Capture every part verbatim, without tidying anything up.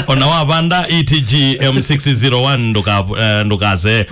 Ona wavanda E T G M six zero one nduka, eh, ndukase.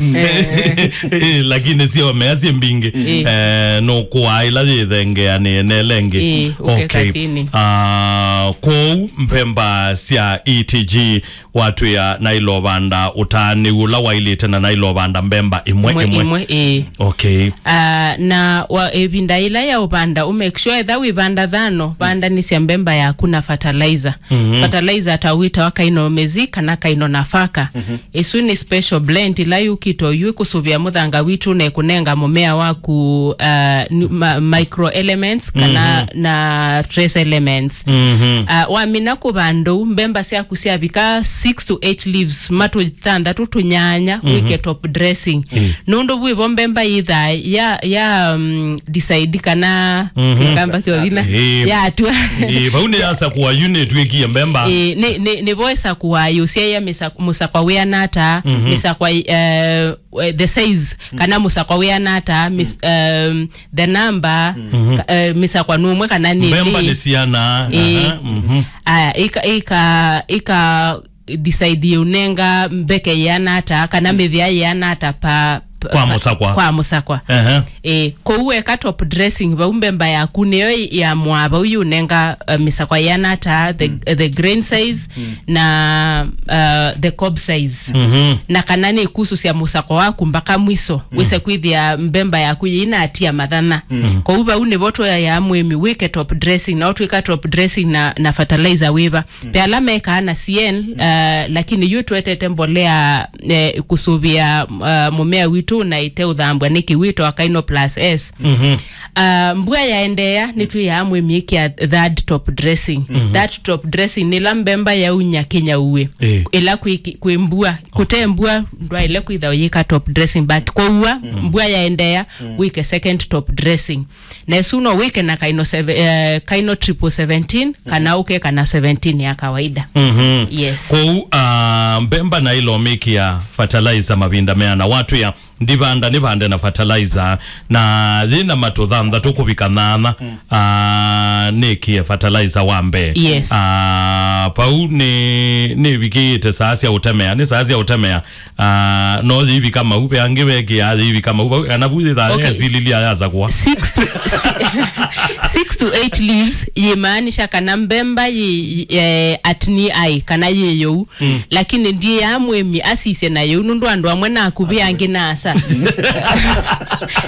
Eh, lakini sio mea si mbingi. Eh, no kwa ila yithengea ni nelengi. Eh, okay, okay. Katini. Ah, kou mbemba cia E T G watwia na ilovanda utani ula wailite na na ilovanda mbemba imwe Imwe, imwe. Imwe, eh. Okay. Ah, na wa, ĩvinda ĩla ya ũvanda, u make sure etha wĩvanda thano, vandanĩsya mbemba yaku na fertilizer. Mhm. Fertilizer ta wĩtawa Kainomezi kana Kaino Nafaka. Mhm. Ĩsu nĩ special blend ĩla yũkĩte oyu ĩkũsũvĩa mũthanga witũ na ĩkũnenga mũmea waku, ah, nu-, ma-, micro elements kana Mhm. na trace elements. Mhm. Ah, wamina kũvanda ũu, mbemba syaku syavika six to eight leaves, matũ thanthatũ tũnyanya, Mhm. wĩke top dressing. Mm. Nũndũ vwĩvo mbemba yĩthaa ya, ya, um, decide kana Mhm. kĩkamba kĩovina Ĩĩ. Yatwa. Ĩĩ, vau nĩ yasakũa yu nĩtw'ĩkie mbemba. Ĩĩ, nĩ, nĩ, nĩvo ĩsakũa yũsyaĩa mĩsa-, mũsakwa wĩana ata, Mhm. mĩsakwa, eh, eh, the size, kana mũsakwa wĩana ata, mis-, um, the number, Mhm. ka-, eh, mĩsakwa nũmwe kana nĩ Mbemba nĩ nĩ siana. Ĩĩ. Aha, mhm. Aya, ika, ika, ika decide ũnenga mbeke yĩana ata, kana mĩthĩa yĩana ata pa, pa, Kwa pa, mũsakwa. Kwa mũsakwa. Aha. Eh, kou weka top dressing, vau mbemba yaku nĩyo yamwaa vau yũnenga, eh, mĩsakwa yĩana ata, the, the grain size, na, uh, the cob size. Mhm. Na kana nĩ kusũsya mũsakwa waku mbaka mwiso, wĩse kwĩthĩa mbemba yaku yĩinatia mathana. Kwoou vau nĩvo tũyaĩa mũĩmi wĩke top dressing, na ũtwĩka top dressing na, na fertilizer wĩva. Ve ala mekaa na C N, uh, lakini yu twetete mbolea, eh, kũsũvĩa, uh, mũmea witũ na ĩte ũthambwa nĩ kĩwĩto akaino plus S. Mhm. Ah, mbua yaendeea, nĩtwĩaa mũĩmi ĩkĩa third top dressing. Mhm. That top dressing nĩ ĩla mbemba yaunya kĩnyauĩ. Ĩĩ. Ĩla kwĩ ki-, kwĩ mbua, kũte mbua, ndwaĩle kwĩtha ũyĩka top dressing, but kwaua, mbua yaendeea, wĩke second top dressing. Na ĩsu no wĩke na kaino seve-, eh, kaino triple seventeen, kana ũkeka na seventeen ya kawaida. Mhm. Yes. Kwoou, ah, mbemba na ĩlomĩkĩa fertilizer mavinda meana watwĩa ndivanda nĩvande na fertilizer, na yĩna matũ thanthatũ kũvika nana, ah, nĩkie fertilizer wa mbee. Yes. Ah, vau nĩ, nĩvikĩĩte saa sya ũtemea, nĩ saa sya ũtemea, ah, no yĩivika mau, ve angĩ vekĩaa yĩivika mau, vau, kana vu yĩthaa Okay. yesililia yasakũa. Six to, si-, six to eight leaves, yĩmaanisha kana mbemba yĩ, eh, at knee high, kana yĩ yũu. Mm. Lakini ndiĩaa mũĩmi asisye na yĩu, nũndũ andũ amwe nakuvĩ angĩ nasa.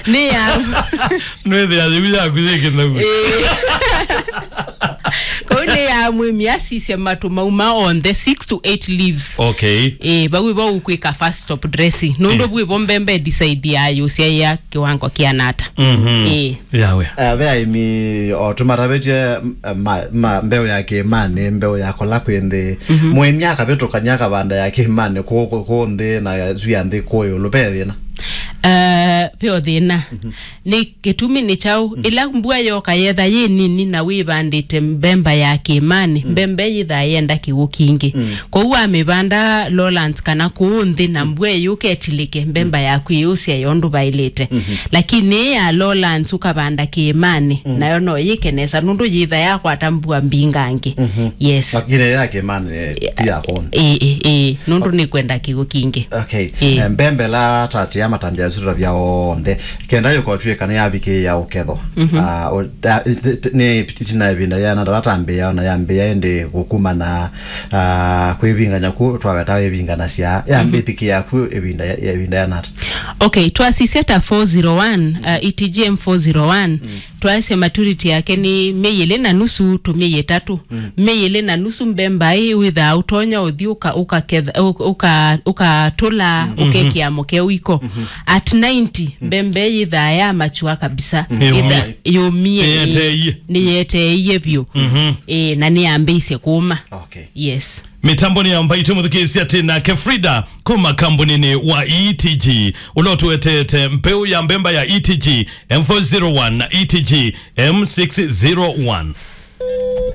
Nĩ ya Nwĩthĩa yĩu yaku yĩ kĩthau. Ĩĩ. Kwoou nĩ ya mũĩmi asisye matũ mauma onthe six to eight leaves. Okay. Ĩĩ, vau ĩvo ũkwĩka first top dressing. Nũndũ Ĩĩ. vu ĩvo mbembe decide ya yũsyaĩa kĩwango kĩanata. Mhm. Ĩĩ. Yawe. Eh, ve aĩmi o tũmatavĩtye, m-, ma, ma, mbeũ ya kĩĩmanĩ, mbeũ ya kũla kwĩ nthĩ. Mhm. Mũĩmi akavĩtũkany'a akavanda ya kĩĩmanĩ kũũ, kũũ, kũũ nthĩ na ya, yu ya nthĩ kũũ ĩũlũ, ve thĩna? Eh, ve o thĩna. Mhm. Nĩ kĩtumi nĩ kyaũ? Mm. Ĩla mbua yoka yetha yĩ nini na wĩvandĩte mbemba ya kĩĩmanĩ, Mm. mbembe yĩthaa yenda kĩw'ũ kingĩ. Mm. Kwoou wamĩvanda lowlands kana kũũ nthĩ na mbua ĩyũka ĩtilĩke, mbemba yaku ĩyũsya yo ndũvaĩlĩte. Mhm. Lakini ĩ ya lowlands ũkavanda kĩĩmanĩ, Mm. nayo no yĩke nesa nũndũ yĩtha yakwata mbua mbingangĩ. Mhm. Yes. Lakini ya kĩĩmanĩ, eh, ti ya kũũ nthĩ. Ĩĩ, ĩĩ, ĩĩ, nũndũ nĩkwenda kĩw'ũ kingĩ. Okay. Ĩĩ. Eh, mbembe la tatia matambya sura vya onthe. Kenda yũkotw'ĩka nĩyavikĩĩa ũkethwa. Mhm. Ah, o-, ta-, t-, t-, nĩ ĩtina ĩvinda yĩana ata vatambĩĩa, ona yambĩĩa ĩndĩ kũkuma na, ah, kwĩvingany'a ku twaweta wĩvinganasya. Yambĩthĩkĩĩa ku ĩvinda ya, ya ĩvinda yĩana ata? Okay, twasisya ta four zero one, uh, E T G M four zero one, Mm. twaisye maturity yake nĩ myei ĩlĩ na nusu to myei ĩtatũ. Mm. Myei ĩlĩ na nusu mbemba ĩ wĩthaa ũtonya ũthi ũka-, ũkaketha-, ũka-, ũka-, ũkatũla, Mm. ũkekĩa mũkeo iko. Mhm. At ninety, Mm. mbembe yĩthaa ya mature kabisa. Mm. Yĩtha-, Yũmie. Yũmie, Nĩyeteie. Nĩyeteie vyũ. Mhm. Ĩĩ, na nĩyambĩĩsye kũũma. Okay. Yes. Mĩtambonĩ ya mbaitũ mũthikĩĩsya tĩ nake Frida kuma kambunĩnĩ wa E T G, ũla ũtũetete mbeũ ya mbemba ya E T G M four zero one na E T G M six zero one.